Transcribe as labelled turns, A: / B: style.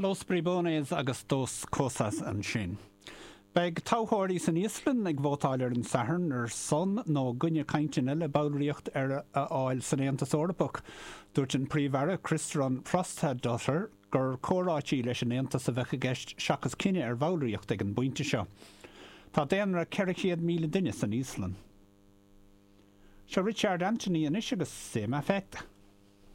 A: Los Bribones agus Dos Cosas ansin. Beidh toghthóirí san Íoslainn ag vótáil ar an Satharn ar son nó i gcoinne cainteanna le ballraíocht a fháil san Aontas Eorpach. Dúirt an Príomh-Aire Kristrún Frostadóttir gur comhráití leis an Aontas a bheadh i gceist seachas cinneadh ar bhallraíocht ag an bpointe seo. Tá daonra 400,000 duine san Íoslainn. Seo Richard Anthony anois agus C'est ma fête.